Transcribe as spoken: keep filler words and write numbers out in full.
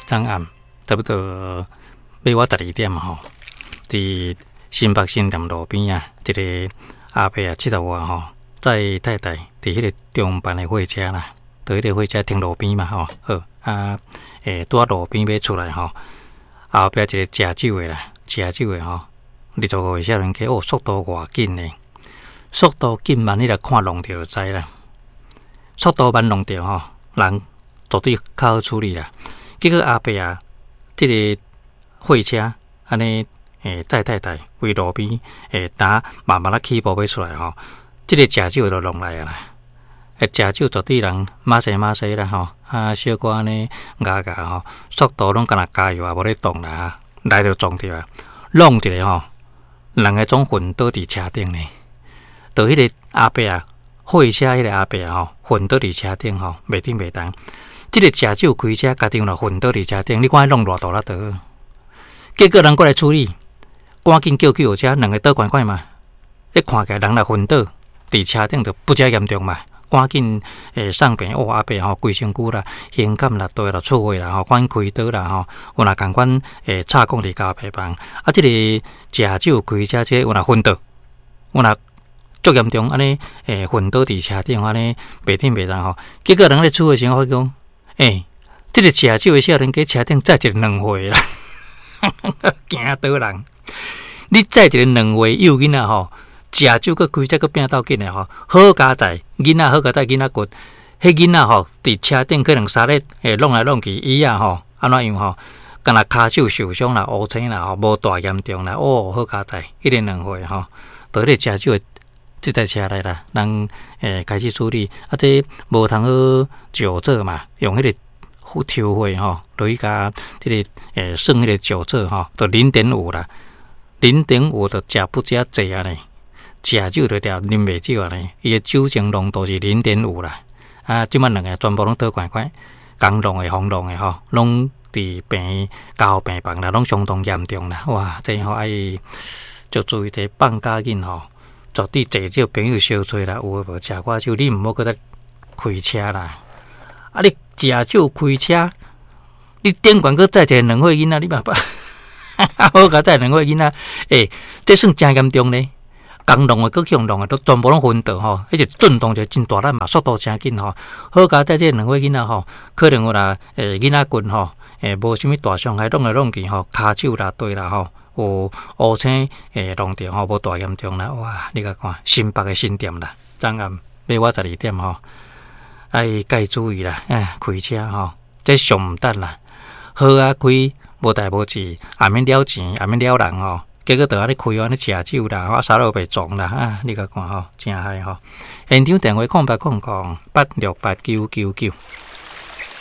昨暗差不多欲倚十二點吼，佇新北新店路邊啊，一个阿伯啊，七十外吼，載太太佇彼個中班的貨車啦，佇彼個貨車停路邊嘛吼，好啊，欸，拄仔路邊欲出來吼，後壁一个食酒的啦，食酒的吼，二十五歲少年家，哦，速度偌緊呢，速度緊慢，你來看弄著就知啦。速度慢弄著吼，人絕對較好處理啦。結果阿伯啊，這个貨車按呢，欸，載太太佇路邊，欸，呾慢慢仔起步欲出來吼，這个食酒的就弄來啊啦。欸，食酒絕對人馬西馬西啦吼，啊，小可按呢咬咬吼，速度攏敢若加油也無咧動啦，來就撞著啊，弄一个吼，兩个總昏倒佇車頂呢。就彼个阿伯啊，貨車彼个阿伯啊吼，昏倒佇車頂吼，袂振袂動。這个食酒開車，家己嘛昏倒佇車頂，你看彼弄偌大力著？結果人過來處理，趕緊叫救護車，兩个倒懸懸嘛。你看起來人若昏倒佇車頂，就不遮嚴重嘛。趕緊欸送病，哦，阿伯吼規身軀啦，胸坎啦、對啦、出血啦吼，趕緊開刀啦吼。有若仝款欸插管佇加護病房。啊，這个食酒開車這个有若昏倒，有若足嚴重，按呢欸昏倒佇車頂，按呢袂振袂動吼。結果人咧處理時，發現講，欸，這个食酒的少年家車頂載一个兩歲啦，驚倒人！你載一個兩歲幼囡仔吼，食酒閣開車閣拚鬥緊的吼，好佳哉，囡仔好佳哉，囡仔骨，彼囡仔吼佇車頂可能沙咧會弄來弄去，伊啊吼按怎樣吼，敢若跤手受傷啦、烏青啦吼，無大嚴重啦，哦，好佳哉，彼个兩歲吼，佇彼个食酒的這台車內啦，人欸開始處理，啊，這無通好酒測嘛，用彼个抽血吼，落去共這个欸算彼个酒測吼，就零點五啦，零點五就食不遮濟啊呢，食酒就著啉袂少啊呢，伊的酒精濃度是零點五啦，啊，這擺兩个全部攏倒懸懸，共弄的、予弄的吼，攏佇病加護病房啦，攏相當嚴重啦，哇，這吼愛就注意這放假緊吼。絕對濟少朋友相揣啦，有的無食寡酒，你毋好閣再開車啦。啊，你食酒開車，你頂懸閣載一个兩歲囡仔，你嘛捌？好佳哉兩歲囡仔，欸，這算誠嚴重呢。共弄的閣去予弄的，都全部攏昏倒吼，彼個震動就真大力嘛，速度誠緊吼。好佳哉，這兩歲囡仔吼，可能有啦，欸，囡仔骨吼，欸，無啥物大傷害，弄來弄去吼，跤手啦，對啦吼。有烏青會弄著吼，無大嚴重啦。哇！你共看新北的新店啦，昨暗欲倚十二點吼，愛該注意啦。哎，開車吼，這上毋值啦。好啊，開無代無誌，也免了錢，也免了人吼。結果就按呢開按呢食酒啦，啊，啥都袂撞啦。啊，你共看吼，誠害吼。現場電話空八空空八六八九九九。